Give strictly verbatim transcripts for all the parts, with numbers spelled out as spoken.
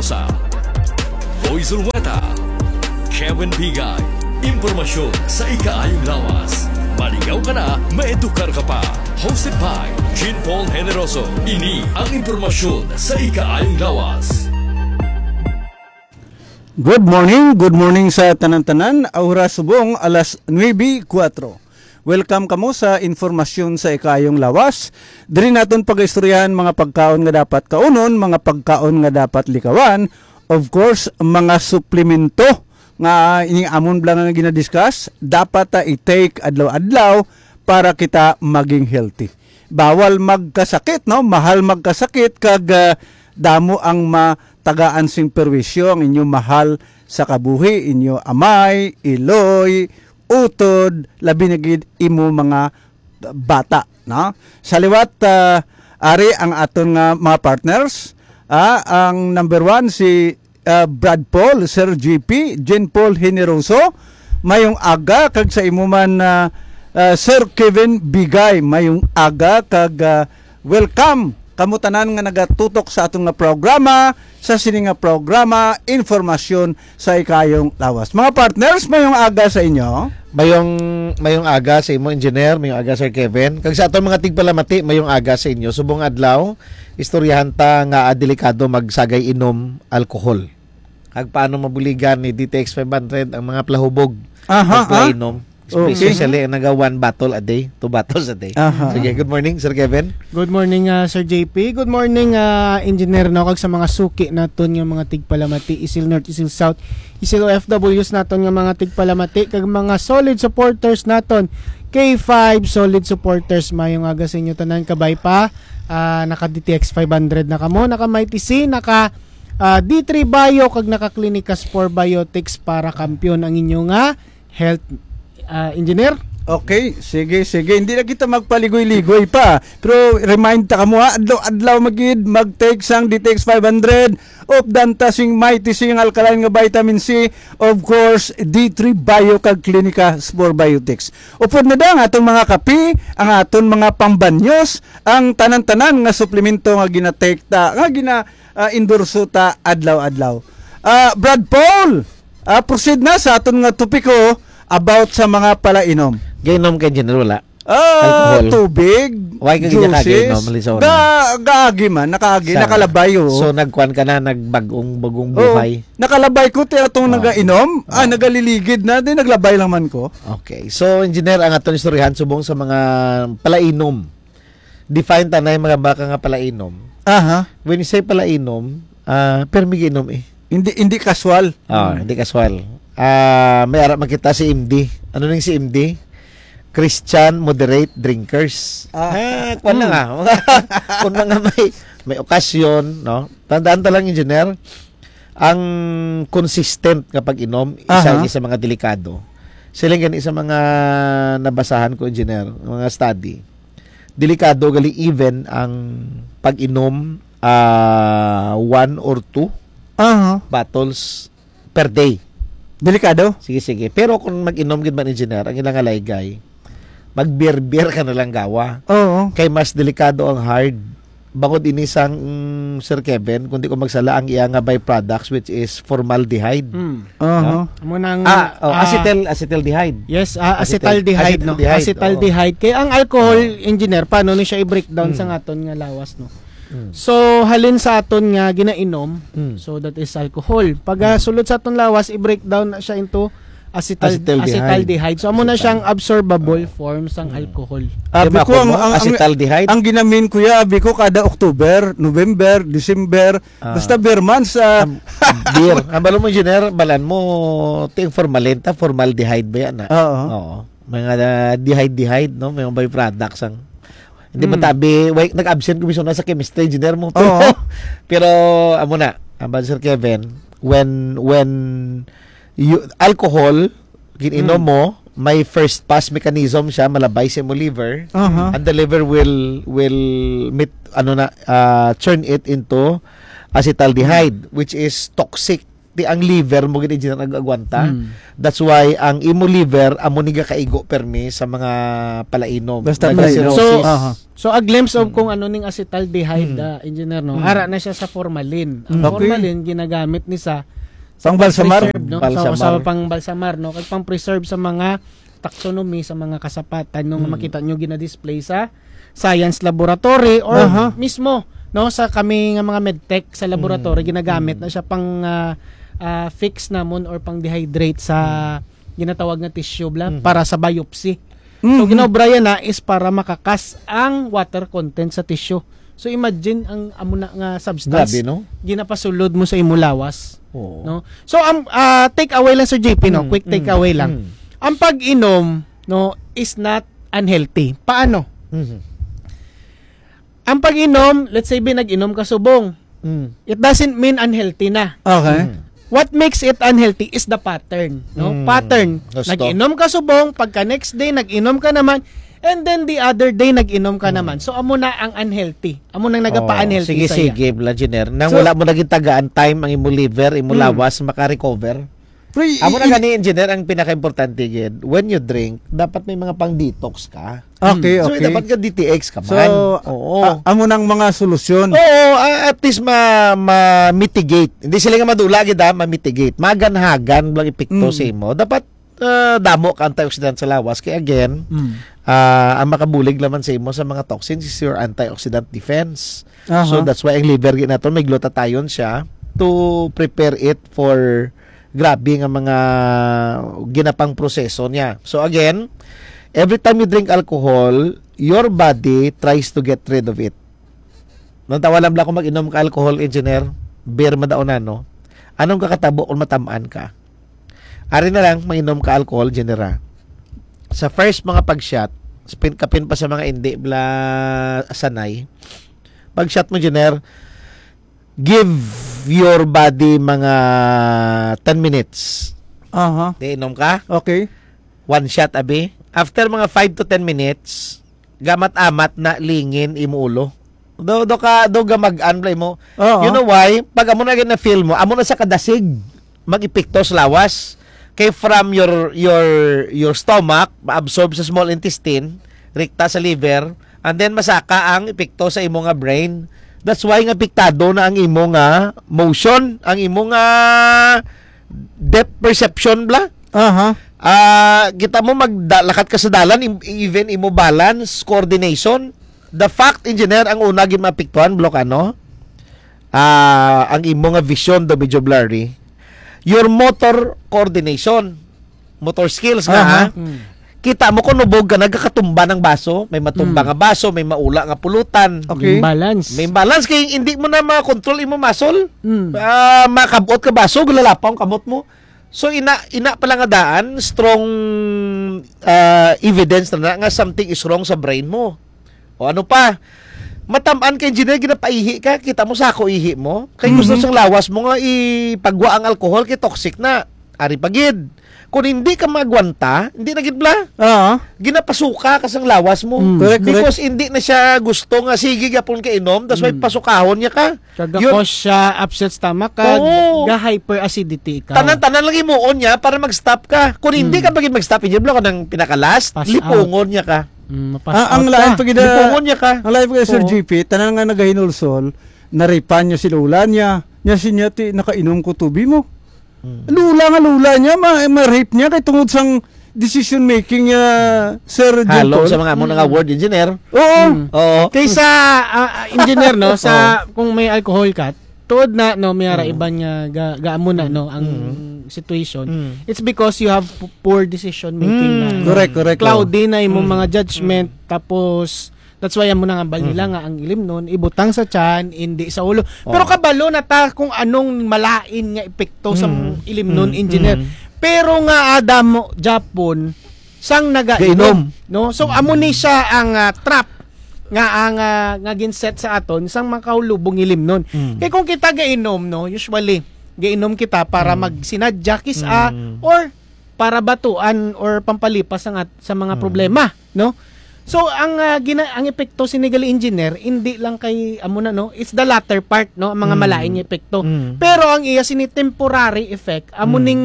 Sa Boy Zulweta, Kevin Bigay, impormasyon sa ikaayong lawas. Maligaw ka na, maedukar ka pa. Hosted by Jean Paul Generoso. Ini ang impormasyon sa ikaayong lawas. Good morning, good morning sa tanan-tanan. Oras subong alas nuebe kuwatro. Welcome kamo sa informasyon sa ikayong lawas. Diri naton pag-istoryahan mga pagkaon nga dapat kaunon, mga pagkaon nga dapat likawan, of course, mga suplemento nga ining amon bala nga ginadiscuss, dapat ta i-take adlaw-adlaw para kita maging healthy. Bawal magkasakit, no? Mahal magkasakit kag, ah, damo ang matagaan sing perwisyo ang inyo mahal sa kabuhi, inyo amay, iloy, utod, labi na gid imo mga bata, no? Sa liwat, ah, ari ang aton nga mga partners. Ah, ang number one, si, ah, Brad Paul, Sir G P, Jean Paul Generoso. Mayong aga, kag sa imo man, ah, ah, Sir Kevin Bigay, mayong aga, kag, ah, welcome kamo tanan nga nagatutok sa aton nga programa, sa sini nga programa, Informasyon sa Ikayong Lawas. Mga partners, mayong aga sa inyo. Mayong, mayong aga sa imo, Engineer, mayong aga, Sir Kevin. Kag sa aton mga tigpalamati, mayong aga sa inyo. Subong adlaw, istoryahan ta nga, ah, delikado magsagay inom alcohol. Kag paano mabuligan ni D T X five hundred ang mga palahubog Aha, kag ah. palainom? Okay. Especially ang naga one bottle a day, two bottles a day. Aha. Sige, good morning, Sir Kevin. Good morning, ah, Sir J P. Good morning, ah, Engineer, no? Kag sa mga suki naton nga mga tigpalamati, Isil North, Isil South, Isil O F Ws naton nga mga tigpalamati, kag mga solid supporters naton, K five solid supporters. Mayong aga sa inyo tanan, kabay pa. Ah, naka D T X five hundred na kamo, naka Mighty C, naka, ah, D three Bio, kag naka Clinicas four Biotics para kampiyon ang inyo nga health, ah, Engineer. Okay, sige, sige. Hindi na kita magpaligoy-ligoy pa. Pero remind ta kamo, ha, adlaw-adlaw magid mag-take sang D T X five hundred, updan ta sing Mighty C nga alkaline nga vitamin C, of course, D three Bio kag Clinica Spore Biotics. Upod na da ang aton mga kape, ang aton mga pangbanyos, ang tanan-tanan nga suplemento nga gina-take ta, nga gina, ah, endorso ta adlaw-adlaw. Ah, Brad Paul, ah, proceed na sa aton nga topiko about sa mga palainom. Gainom kay General, wala? Ah, Alcohol. Tubig, Why ka gid juices. Nakagainom, Lizona? Ga-, gaagi man, nakaagi, Sa- nakalabay, oo. So, nagkuan ka na, nagbagong, bagong Oo. buhay? Nakalabay ko, ti atong Oo. nagainom, ah, Oo. nagaliligid na, di naglabay lang man ko. Okay. So, Engineer, ang aton istoryahan subong sa mga palainom. Define ta na yung mga baka nga palainom. Aha. When you say palainom, ah, permi giinom eh. Hindi, hindi kaswal. Ah, Hmm. hindi kaswal. Ah, may ara makita si M D. Ano ning si M D? Christian moderate drinkers. Ah. Ah, kuwan lang Hmm. ah. Kung mga may, may okasyon, no? Tandaan ta lang, Engineer, ang consistent nga pag-inom, isa Aha. ini sa mga delikado. Sila gani sa mga nabasahan ko, Engineer, mga study. Delikado gali even ang pag-inom, ah, one or two Aha. bottles per day. Delikado? Sige, sige. Pero kung mag-inom gid man, Engineer, ang ilang alaygay, mag-beer-beer ka na lang gawa. Oo. Kay mas delikado ang hard. Bangod ini sang, mm, Sir Kevin, kundi kung magsala ang iya nga byproducts, which is formaldehyde. Mm. Aha. No? Amo nang, Ah, oh, ah, acetyl, acetaldehyde. Yes, ah, Acetyl-, acetaldehyde, no? acetaldehyde, oo. Acetaldehyde. Kaya ang alcohol, Oo. Engineer, paano ni siya i-breakdown sa Mm. aton nga lawas, no? Mm. So, halin sa aton nga ginainom, Mm. so that is alcohol. Pag, ah, Mm. sulod sa aton lawas, i-breakdown na siya into acetal-, Acetaldehyde. acetaldehyde. So, amo na Acetal. siyang absorbable Oo. form sang Mm. alcohol. Ah, Di ba biko ang, ako mo? ang, ang, Acetaldehyde? ang ginamin ko ya, biko kada October, November, December, Ah. basta beer months, ah. Am, beer. Ang balo mo, Engineer, balan mo, ting formalin ta, formaldehyde ba yan, ah? Oo. Oo. Mga, ah, dehyde, dehyde, no? May mga byproducts ang, hindi Mm. matabi, wait, nag-absent ko, miso na sa chemistry, Engineer mo. Pero, Oo. pero, amo na, ang bad, Sir Kevin, when, when you, alcohol, gin-inom Mm. mo, may first pass mechanism siya, malabay sa imo liver, Aha. and the liver will, will meet, ano na, ah, turn it into acetaldehyde, Mm. which is toxic. ang liver mo gid, engineer, nag-agwanta. Mm. That's why ang imo liver amo ni gakaigo permi sa mga palainom. Basta palainom. Nag-cirrhosis. So, aha. So, a glimpse of Mm. kung ano ning acetaldehyde, Mm. ah, engineer, no? Mm. Ara na siya sa formalin. Ang Okay. formalin, ginagamit ni sa Pang balsamar? pang-preserve, no? Sa, Balsamar. sa pang-balsamar, no? Kag pang-preserve sa mga taxonomy, sa mga kasapatan, no? Nga Mm. makita nyo gina-display sa science laboratory or Aha. mismo, no? Sa kami nga mga medtech sa laboratory, Mm. ginagamit Mm. na siya pang, ah, ah, fix namon or pang-dehydrate sa Mm. ginatawag nga tissue bla Mm. para sa biopsy. So, Mhm. ginaobra yan na is para makakas ang water content sa tissue. So, imagine ang amo na nga substance Grabe, no? ginapasulod mo sa imo lawas, Oo. no? So, ang, ah, take away lang, Sir J P, no? Mm, Quick take mm, away lang. mm. Ang pag-inom, no, is not unhealthy. Paano? Mhm. Ang pag-inom, let's say, bi, nag-inom ka subong. Mm. It doesn't mean unhealthy na. Okay. Mm. What makes it unhealthy is the pattern, no? Mm. Pattern. Gusto. Nag-inom ka subong, pagka next day, nag-inom ka naman, and then the other day, nag-inom ka Mm. naman. So, amo na ang unhealthy. Amo nang nagapa-unhealthy Oh, sige, saya. sige, Blanchiner. Nang So, wala mo naging tagaan time ang imo liver, imo Mm. lawas, maka-recover. Pre, Amo i-, na i- gani, engineer, ang pinaka-importante gid. When you drink, dapat may mga pang-detox ka. Okay, So, okay. dapat ka D T X ka So, man. Oo. a-, amo nang mga solusyon. Oo, a-, at least ma-, ma-mitigate. Hindi sila nga madula gid, ah, ma-mitigate. Maganhagan lang epekto Mm. sa imo. Dapat, ah, damo ka antioxidant sa lawas. Kaya again, Mm. ah, ang makabulig naman sa imo sa mga toxins is your antioxidant defense. Aha. So, that's why ang liver gid nato may glutathione siya to prepare it for grabe nga mga ginapang proseso niya. So again, every time you drink alcohol, your body tries to get rid of it. Natawa lang bala ko mag-inom ka alcohol, engineer, beer madaon na, no? Anong kakatabo kung matamaan ka? Ari na lang, mag-inom ka alcohol, engineer, ah. Sa first mga pag-shot, spin, kapin pa sa mga hindi bla sanay, pag-shot mo, engineer, give your body mga ten minutes. Aha. Di inom ka? Okay. One shot, abi. After mga five to ten minutes, gamat-amat na lingin imo ulo. Do, do ka, do gamag-an bala imo. Oo. You know why? Pag amo na gid na feel mo, amo na sa kadasig mag-epekto sa lawas. Kay from your, your, your stomach, ma-absorb sa small intestine, rekta sa liver, and then masaka ang epekto sa imo nga brain. That's why nga apektado na ang imo nga motion, ang imo nga depth perception bla. Aha. Ah, kita mo maglakat ka sa dalan, im-, even imo balance, coordination. The fact, engineer, ang una gid maapektuhan, Blocano, ah, ang imo nga vision do medyo blurry. Your motor coordination, motor skills nga, Aha. ha? Mm. Kita mo kung nubog ka, nagkakatumba ng baso, may matumba Mm. nga baso, may maula nga pulutan. Okay. Imbalance. May imbalance kay hindi mo na ma-control imo muscle. Mm. Ah, makabot ka baso, gulalapaw ang kamot mo. So, ina, ina pala nga daan, strong, ah, evidence na, na nga something is wrong sa brain mo. O ano pa? Matamaan ka, engineer, ginapaihi ka, kita mo sako ihi mo. Kay gusto Mhm. sang lawas mo nga ipagwa ang alcohol kay toxic na. Ari pa gid. Kung hindi ka magwanta, hindi na gid bla. Oo. Ginapasuka ka sang lawas mo. Mm. Correct, correct. Because hindi na siya gusto nga sige gyapon ka inom, that's why Mm. pasukahon niya ka. Kag Yun. cause siya upset stomach, kag Oo. ga-hyperacidity ikaw. Tanan-tanan lang himuon niya para mag-stop ka. Kung hindi Mm. ka pa gid mag-stop, engineer, bla, kanang pinaka-last, Pass out. lipungon niya ka. Mm, mapass Ah, ang out lain ka. pa gid, Lipungon niya ka. ang lain pa gid, Sir Oo. G P, tanan nga nagahinulsol, naripan niya si lola niya. Niya siya ti, "Nakainom ko tubi mo." Mm. Lola nga lola niya, ma-, ma-rape niya kay tungod sang decision making niya, Sir Halong Jentol. sa mga amo nga Mm. word, engineer. Oo. Mm. Oo. Kaysa, ah, ah, engineer, no, sa, Oo. kung may alcohol ka, tuod na, no, may ara Mm. iban nga ga-, gaamo na, Mm. no, ang Mm. situation. Mm. It's because you have p-, poor decision making na, Mm. no? Correct, correct, oo. Cloudy na imong Mm. mga judgment, Mm. tapos, that's why amo na nga bal nila Mm. nga ang ilimnon, ibutang sa tiyan, hindi sa ulo. Oo. Pero kabalo na ta kung anong malain nga epekto sang Mm. ilimnon, Mm. engineer. Mm. Pero nga, Adam, Japon, sang nagainom, Gainom. no? So, amo ni siya ang, ah, trap nga ang, ah, nga ginset sa aton sang makahulubong ilimnon. Mm. Kay kung kita gainom, no, usually, gainom kita para Mm. magsinadya, kis-a, Mm. or para batuan or pampalipas sa ngat-, sa mga Mm. problema, no? So ang ah, gina- ang epekto sini gali, engineer, hindi lang kay amo na, no, it's the latter part, no, ang mga Mm. malain nga epekto. Mm. Pero ang iya sini temporary effect amo Mm. ning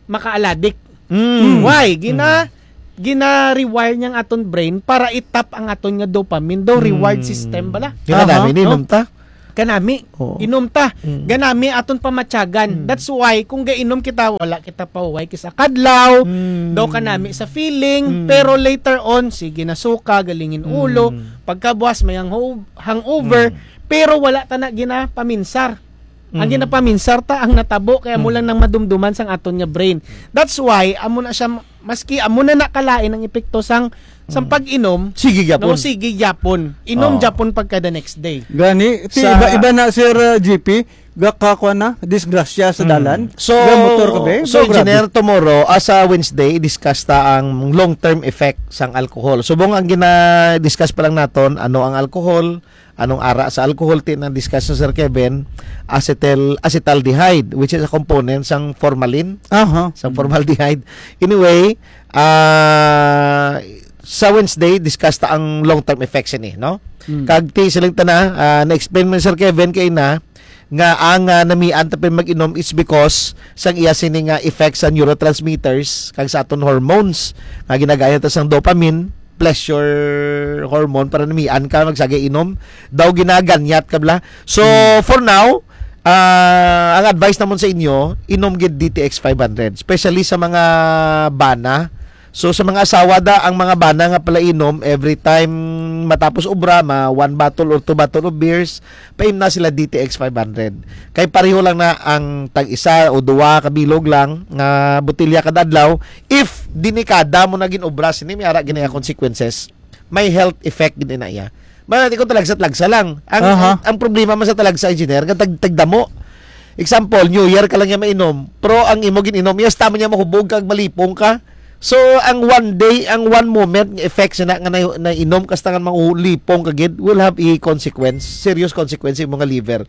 makaaladik. Mm. Why? Gina Mm. gina-rewire niya ang aton brain para itap ang aton nga dopamine, daw reward Mm. system bala. Kinadami Aha. ni No? Inom ta. Kanami, Oo. inom ta. Mm. Ganami aton pamatyagan. Mm. That's why kung gainom kita, wala kita pahuway kisa kadlaw, Mm. daw kanami sa feeling, Mm. pero later on, sige na suka, galingin ulo, Mm. pagkabuas may hang- hangover, Mm. pero wala ta na ginapaminsar. Ang Mm. ginapaminsar ta ang natabo kaya mo Mm. lang nang madumduman sang aton nga brain. That's why amo na siya, maski amo na nakalain ang epekto sang sang Mm. pag-inom, Sige gyapon. no, sige gyapon. Inom Oh. gyapon pagka the next day. Gani, ti Sa iba-iba na, Sir, uh, G P, gakakuha na, disgrasya sa Mm. dalan. So, Ga motor ka, be? so, Go, grabe. Engineer, tomorrow, as a Wednesday, discuss ta ang long-term effect sang alcohol. Subong ang gina-discuss pa lang naton, ano ang alcohol, anong ara sa alcohol, ti na discuss ni Sir Kevin, acetyl, acetaldehyde, which is a component sang formalin, Aha. sang formaldehyde. Anyway, ah, sa Wednesday, discuss ta ang long-term effects ini, no? Mm. Kag ti siling tana, ah, na-explain man ni Sir Kevin kay na nga ang ah, namian ta pa mag-inom is because sang iya sini nga effects sa neurotransmitters kag sa aton hormones nga ginagaya ta sang dopamine, pleasure hormone, para namian ka magsagay inom, daw ginaganyat ka bla. So, Hmm. for now, ah, ang advice namon sa inyo, inom gid D T X five hundred, especially sa mga bana. So, sa mga asawa da, ang mga bana nga palainom, every time matapos obra, ma one bottle or two bottle of beers, paimna sila D T X five hundred. Kay pareho lang na ang tag isa o duwa ka bilog lang nga botelya kada adlaw. If delikada mo na gin-obra sini, may ara gini nga consequences. May health effect gid na iya. Mara di ko talagsa-talagsa lang. Ang, Aha. ang, ang problema man sa talagsa, engineer, nga tag tagdamo. Example, New Year ka lang niya mainom, pero ang imo gin-inom, iya sa tama niya mahubog kag malipong ka. So, ang one day, ang one moment nga effects na nga na, nainom ka sa tangan, mahulipong ka gid, will have a consequence, serious consequence sa imo nga liver.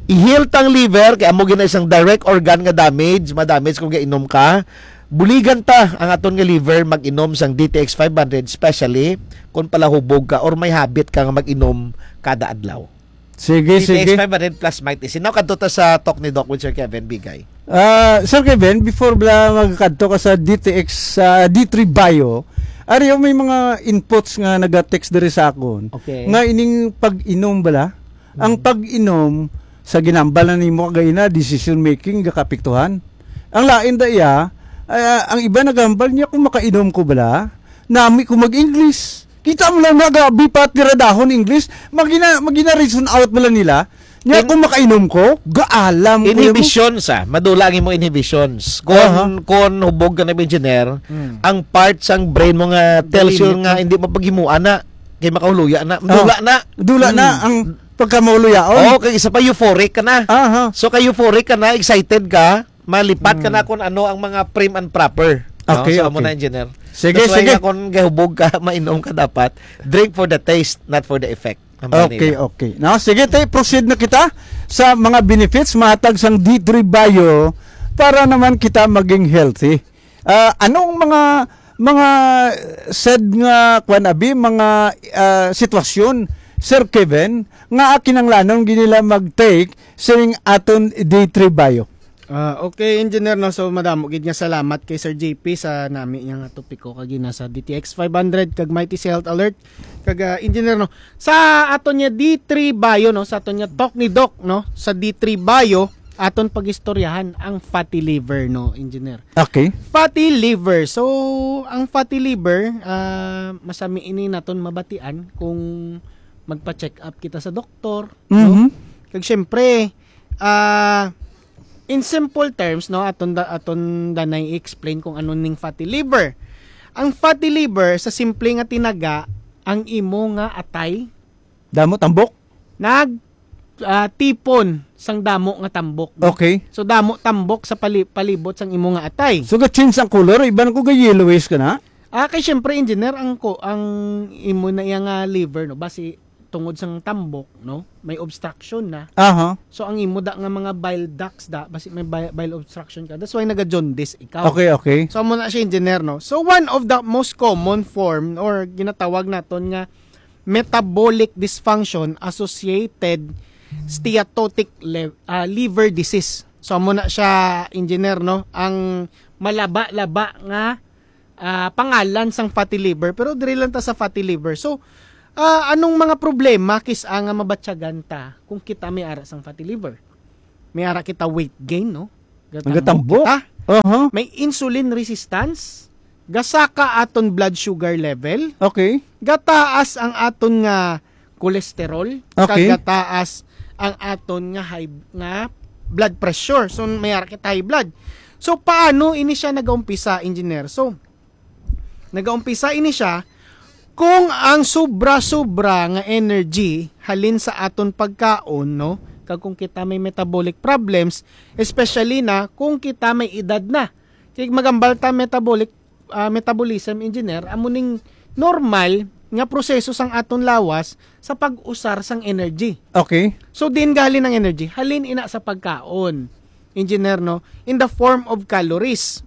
I-heal tang liver, kay amo gina isang direct organ nga damage, ma-damage kung gainom ka. Buligan ta ang aton nga liver mag-inom sang D T X five hundred, especially kung palahubog ka or may habit ka nga mag-inom kada adlaw. Sige, D T X sige. five hundred plus Mighty C. Now, kadto ta sa talk ni Doc with Sir Kevin Bigay. Ah, Sir Kevin, before bala magkadto ka sa D T X, sa D three Bio, ari may mga inputs nga nag-text diri sa akon. Okay. Nga ining pag-inom bala, ang Mm. pag-inom sa ginambal na nimo kagay na decision making gakapiktuhan. Ang lain da iya, ah, ang iba nagambal niya kung makainom ko bala, nami ko mag-English. Kita mo lang na gabi pa tiradahon English, magina magina reason out bala nila. Nya In- kung makainom ko, gaalam ko. Inhibition sa, madula ang imo inhibitions. Kon Aha. kon hubog ka na engineer, Hmm. ang part sang brain mo nga tells you Delimit nga mo. hindi mapaghimuan na kay makahuluya na, Ah. madula na. Dula na Hmm. ang pagkamahuluyaon. Oh, kay isa pa euphoric ka na. Aha. So kay euphoric ka na, excited ka, malipat ka Hmm. na kung ano ang mga prim and proper. No? Okay, So, amo okay. na, engineer. Sige, That's why sige. nga kung gahubog ka, mainom ka dapat, drink for the taste, not for the effect. Ang Okay, manila. okay. Now, sige, tay, proceed na kita sa mga benefits mahatag sang D three Bio para naman kita maging healthy. Ah, anong mga mga said nga kwan abi, mga ah, sitwasyon, Sir Kevin, nga kinanglanon ginila mag-take sining aton D three Bio? Ah, okay, engineer, no? So, madamo gid nga salamat kay Sir J P sa nami niya nga topiko kag gina sa D T X five hundred kag Mighty C Health Alert. Kag, ah, engineer, no? Sa aton niya D three Bio, no? Sa aton niya talk ni Doc, no? Sa D three Bio, aton pagistoryahan ang fatty liver, no, engineer? Okay. Fatty liver. So, ang fatty liver, ah, masami ini naton mabatian kung magpa-check up kita sa doktor, no? Mhm. Kag syempre, ah, in simple terms, no, aton da, aton danay i-explain kung ano ning fatty liver. Ang fatty liver, sa simple nga tinaga, ang imo nga atay Damo tambok? nag, ah, tipon sang damo nga tambok, no? Okay. So, damo tambok sa pali-, palibot sang imo nga atay. So, ga-change ang color, iban ko ga-yellowish ka na? Ah, kay syempre, engineer, ang ko, ang imo na iya nga liver, no? Basi, tungod sang tambok, no? May obstruction na. Aha. So, ang imo da nga mga bile ducts da, basi may bi-, bile obstruction ka. That's why naga-jaundice ikaw. Okay, okay. So, amo na siya, engineer, no? So, one of the most common form or ginatawag naton nga metabolic dysfunction associated steatotic le-, ah, liver disease. So, amo na siya, engineer, no? Ang malaba-laba nga ah, pangalan sang fatty liver, pero diri lang ta sa fatty liver. So, ah, anong mga problema kis-a nga mabatyagan ta kung kita may ara sang fatty liver? May ara kita weight gain, no? Gatambok. Gatambok kita. Aha. May insulin resistance, gasaka aton blood sugar level, Okay. gataas ang aton nga cholesterol, Okay. kag gataas ang aton nga high, nga blood pressure. So, may ara kita high blood. So, paano ini siya nagaumpisa, engineer? So, nagaumpisa ini siya kung ang sobra-sobra nga energy halin sa aton pagkaon, no? Kag kung kita may metabolic problems, especially na kung kita may edad na. Kay magambal ta metabolic, ah, metabolism engineer, amo ning normal nga proseso sang aton lawas sa pag-usar sang energy. Okay. So, din gahalin ang energy? Halin ina sa pagkaon, engineer, no? In the form of calories.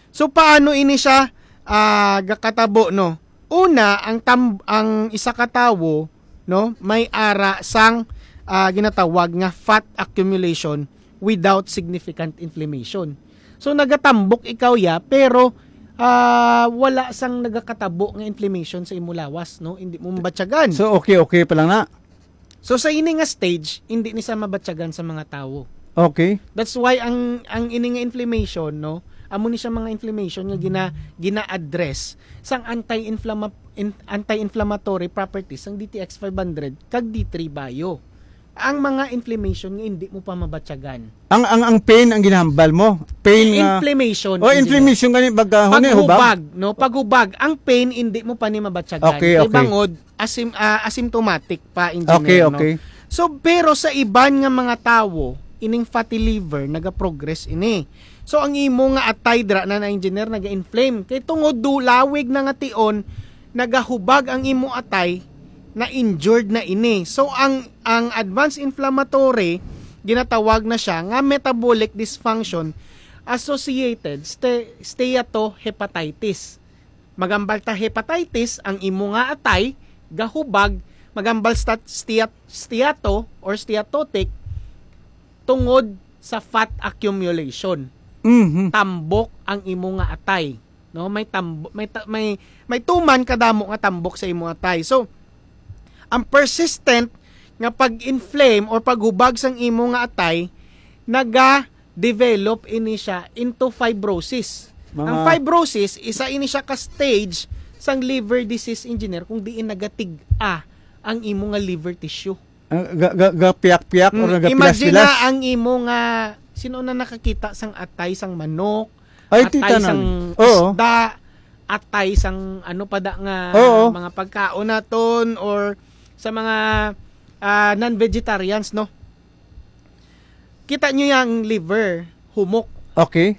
So, paano ini siya, ah, gakatabo, no? Una, ang tam-, ang isa ka tawo, no, may ara sang, ah, ginatawag nga fat accumulation without significant inflammation. So, nagatambok ikaw ya, pero, ah, wala sang nagakatabo nga inflammation sa imo lawas, no? Hindi mo mabatyagan. So, okay, okay pa lang na. So, sa ini nga stage, hindi ni siya mabatyagan sa mga tawo. Okay. That's why ang, ang ini nga inflammation, no, amo ni siya mga inflammation nga gina-, gina-address sang anti-inflama-, in-, anti-inflammatory properties sang D T X five hundred kag D three Bio. Ang mga inflammation nga hindi mo pa mabatyagan. Ang, ang, ang pain ang ginahambal mo? Pain nga Inflammation, Oh, engineer. inflammation gani baga, huni, hubag? Paghubag, no? Paghubag. Ang pain, hindi mo pa ni mabatyagan. Okay, Kay okay. bangod, asim-, ah, asymptomatic pa, engineer, Okay, no? okay. So, pero sa iban nga mga tawo, ining fatty liver, naga-progress ini. So, ang imo nga atay dira na, na engineer, naga-inflame. Kay tungod do lawig na nga tion, nagahubag ang imo atay, na injured na ini. So, ang, ang advanced inflammatory, ginatawag na siya nga metabolic dysfunction associated ste-, steatohepatitis. Magambal ta hepatitis, ang imo nga atay gahubag, magambal stat-, steat-, steato or steatotic tungod sa fat accumulation. Mhm. Tambok ang imo nga atay, no? May tambo-, may ta-, may, may tuman kadamo nga tambok sa imo atay. So, ang persistent nga pag-inflame or paghubag sang imo nga atay, naga-develop ini siya into fibrosis. Mga Ang fibrosis, isa ini siya ka stage sang liver disease, engineer, kung diin nagatig-a ang imo nga liver tissue. Ah, ga-, ga-, gapiyak-piyak or Mm, nagapilas-pilas? Imagine na ang imo nga, sino na nakakita sang atay sang manok, Ay, atay titanan. sang Oo. isda, atay sang ano pa da nga Oo. mga pagkaon naton or sa mga, ah, non-vegetarians, no? Kita nyo yung liver, humok. Okay.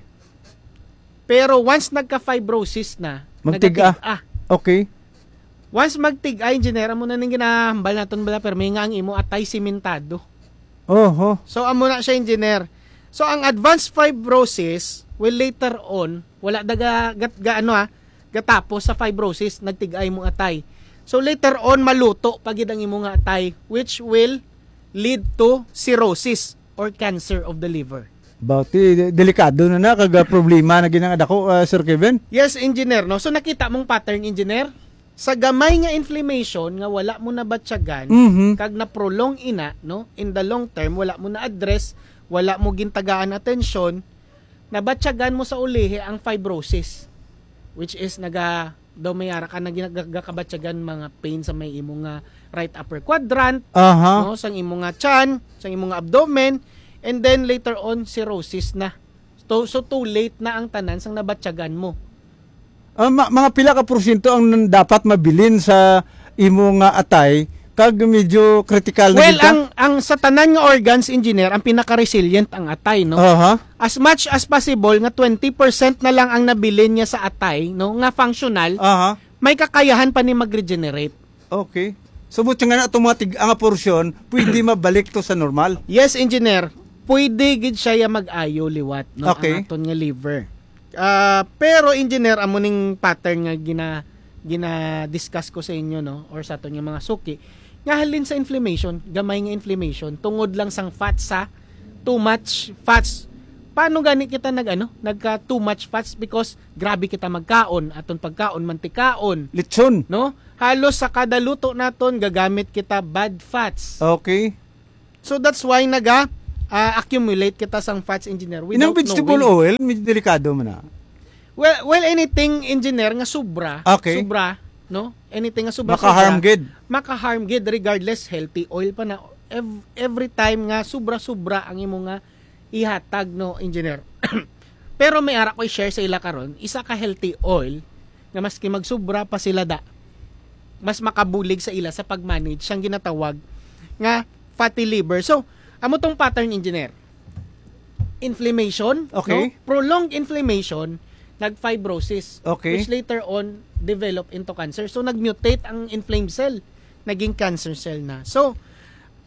Pero once nagka-fibrosis na, Magtig-a. nagatig-a. Okay. Once magtig-a, engineer, amo na ning ginahambal naton bala, pero may nga ang imo atay simentado. Oho. So, amo na siya, engineer. So, ang advanced fibrosis will later on, wala daga, gat, ga, ano, ah, gatapos sa fibrosis, nagtig-a imong atay. So, later on, maluto pa gid ang imong atay, which will lead to cirrhosis or cancer of the liver. Bati, delikado na na, kag, ah, problema na ginang dako, ah, Sir Kevin? Yes, engineer, no? So, nakita mong pattern, engineer? Sa gamay nga inflammation nga wala mo nabatyagan, Mhm. kag na-prolong ina, no? In the long term, wala mo na-address, wala mo gintagaan atensyon, nabatyagan mo sa ulihi ang fibrosis, which is naga-, daw may ara ka na gina-, ga-, gakabatyagan mga pain sa may imo nga right upper quadrant, Aha. no, sang imo nga tiyan, sang imo nga abdomen, and then later on, cirrhosis na. So, so too late na ang tanan sang nabatyagan mo. Ah, ma-, mga pila ka porsyento ang nan-, dapat mabilin sa imo nga atay, kag medyo critical na Well, gid ka? ang, ang sa tanan nga organs, engineer, ang pinaka-resilient ang atay, no? Aha. As much as possible nga twenty percent na lang ang nabilin niya sa atay, no, nga functional, Aha. may kakayahan pa ni mag-regenerate. Okay. So, buti nga na itong mga tig-, ang porsyon, pwede mabalik to sa normal. Yes, engineer. Pwede gid siya ya mag-ayo liwat, no? Okay. Ang aton nga liver. Ah, pero, engineer, amo ning pattern nga gina-, gina-discuss ko sa inyo, no? Or sa aton nga mga suki. Nga halin sa inflammation, gamay nga inflammation, tungod lang sang fats sa too much fats. Paano gani kita nag-, ano, nagka too much fats? Because grabe kita magkaon, aton pagkaon, mantikaon. Lechon. No? Halos sa kada luto naton, gagamit kita bad fats. Okay. So that's why naga, ah, accumulate kita sang fats, engineer, Inang without vegetable knowing. Oil, medyo delikado man na. Well, well, anything, engineer, nga sobra, Okay. sobra, no? Anything nga sobra, Maka-harm sobra, gid. Maka-harm gid, regardless, healthy oil pa na. Ev-, every time nga sobra-sobra ang imo nga ihatag, no, engineer. Pero may ara ko i-share sa ila karon, isa ka healthy oil nga maski magsubra pa sila da, mas makabulig sa ila sa pag-manage sang ginatawag nga fatty liver. So, amo tong pattern, engineer. Inflammation, Okay. no? Prolonged inflammation, nag-fibrosis, Okay. which later on develop into cancer. So, nag-mutate ang inflamed cell, naging cancer cell na. So,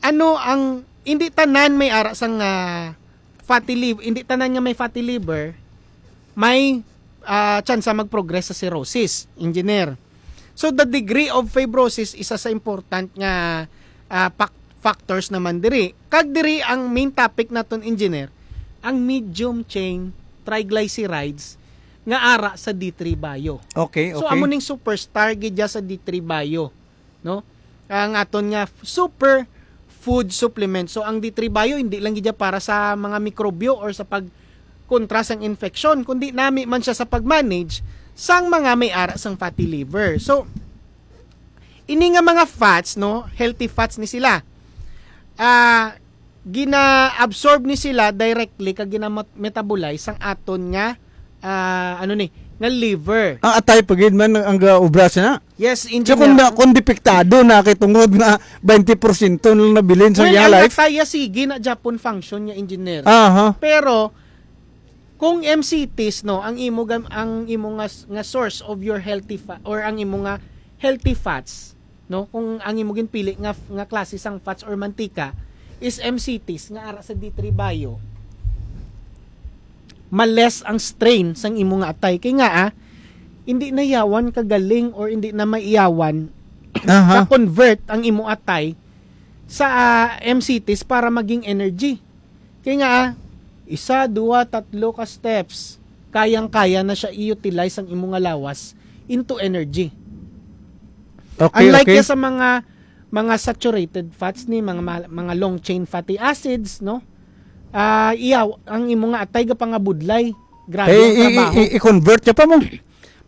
ano ang, hindi tanan may ara sang, ah, fatty liv-, hindi tanan nga may fatty liver, may, ah, tsansa mag-progress sa cirrhosis, engineer. So, the degree of fibrosis, isa sa important nga, ah, fac-, factors naman diri. Kag diri ang main topic naton, engineer, ang medium chain triglycerides nga ara sa D three Bio. Okay, So, okay. amo ning superstar gid dya sa D three Bio, no? Ang aton nga f-, super food supplement. So, ang D three Bio, hindi lang gid dya para sa mga mikrobyo or sa pagkontra sang infeksyon, kundi nami man siya sa pag-manage sang mga may ara sang fatty liver. So, ini nga mga fats, no, healthy fats ni sila. Ah, gina-absorb ni sila directly kag gina-metabolize sang aton nga, ah, ano ni, nga liver. Ang atay pa gid man ang, ang gaobra sa na. Yes, So, kung, engineer. na, kung depektado na kay tungod nga twenty porsyento lang nabilin sa Well, iyang ang life? atay, ya, sige na Japon function niya, engineer. Aha. Pero kung M C Ts, no, ang imo gam-, ang imo nga s-, nga source of your healthy fa-, or ang imo nga healthy fats, no, kung ang imo ginpili nga f-, nga klase sang fats or mantika is M C Ts nga ara sa D three Bio, ma-less ang strain sang imo nga atay. Kay nga, ah, hindi na yawan kagaling or hindi na maiyawan Aha. ka-convert ang imo atay sa, ah, M C Ts para maging energy. Kay nga, ah, isa, duwa, tatlo ka steps, kayang-kaya na siya i-utilize ang imo nga lawas into energy. Okay, Unlike okay. ya sa mga, mga saturated fats ni, mga ma-, mga long chain fatty acids, no? Ah, iya, ang imo nga atay gapangabudlay. Grabe Kay ang i-, i-, trabaho. i-, i-convert niya pa mo.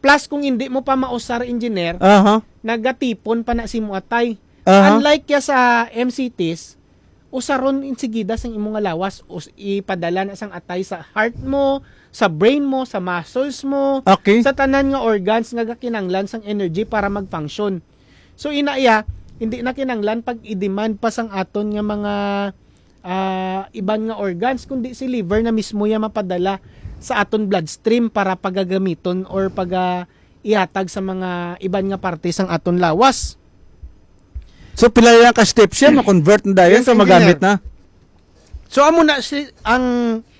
Plus, kung hindi mo pa mausar, engineer, Aha. nagatipon pa na si mo atay. Aha. Unlike ya sa M C Ts, usaron insigida sang imo nga lawas, us-, ipadala na sang atay sa heart mo, sa brain mo, sa muscles mo, Okay. sa tanan nga organs nga gakinanglan sang energy para mag-function. So, ina iya, hindi na kinanglan pag i-demand pa sang aton nga mga, ah, iban nga organs, kundi si liver na mismo ya mapadala sa aton bloodstream para pagagamiton or paga-, ihatag sa mga iban nga parte sang aton lawas. So, pila lang ka steps yan, ma-convert na dayon, Yes, so magamit engineer. na. So, amo na si, ang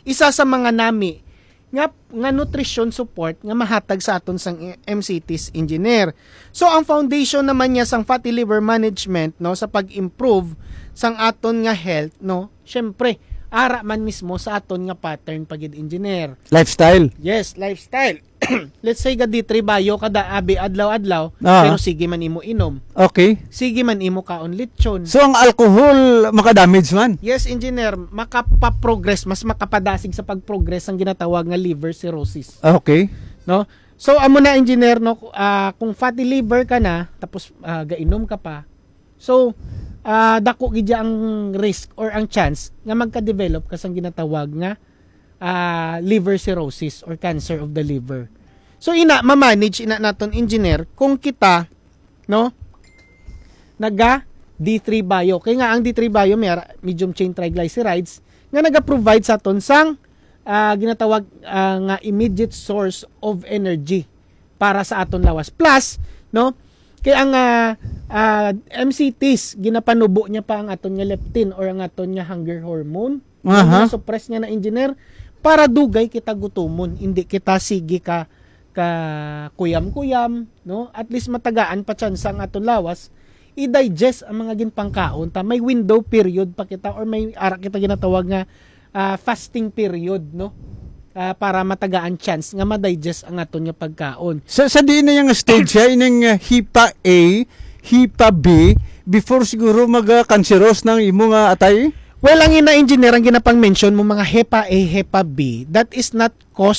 isa sa mga nami nga, nga nutrition support nga mahatag sa aton sang M C Ts, engineer. So, ang foundation naman niya sang fatty liver management, no, sa pag-improve sang aton nga health, no, syempre, ara man mismo sa aton nga pattern pa gid, engineer. Lifestyle. Yes, lifestyle. Let's say, ga D three Bio ka da, abi, adlaw-adlaw, Ah. pero sige man imo inom. Okay. Sige man imo kaon lechon. So, ang alcohol makadamage man? Yes, engineer, makapa-progress, mas makapadasig sa pag-progress ang ginatawag nga liver cirrhosis. Okay. No? So, amo na, engineer, no, ah, kung fatty liver ka na, tapos, ah, gainom ka pa, so, ah, dako gid ang risk or ang chance nga magka-develop ka sang ginatawag nga, ah, liver cirrhosis or cancer of the liver. So, ina, ma-manage ina naton, engineer, kung kita, no, naga D three Bio. Kay nga ang D three Bio may ara-, medium chain triglycerides nga naga-provide sa aton sang, ah, ginatawag, ah, nga immediate source of energy para sa aton lawas. Plus, no, Kay ang ah, ah, M C Ts, ginapanubo niya pa ang aton nga leptin or ang aton nga hunger hormone. Nga Aha. Suppress niya na, engineer, para dugay kita gutumon, hindi kita sige ka ka kuyam-kuyam, no? At least matagaan pa tsansa ang aton lawas i-digest ang mga ginpangkaon ta. May window period pa kita or may ara kita ginatawag nga ah, fasting period, no? Ah, para matagaan chance nga ma-digest ang aton nga pagkaon. Sa, sa diin na yung stage siya, ining uh, HEPA A, HEPA B, before siguro mag-cancerous ng imo nga atay? Well, ang ina engineer ang ginapang-mention mo, mga HEPA A, HEPA B, that is not cause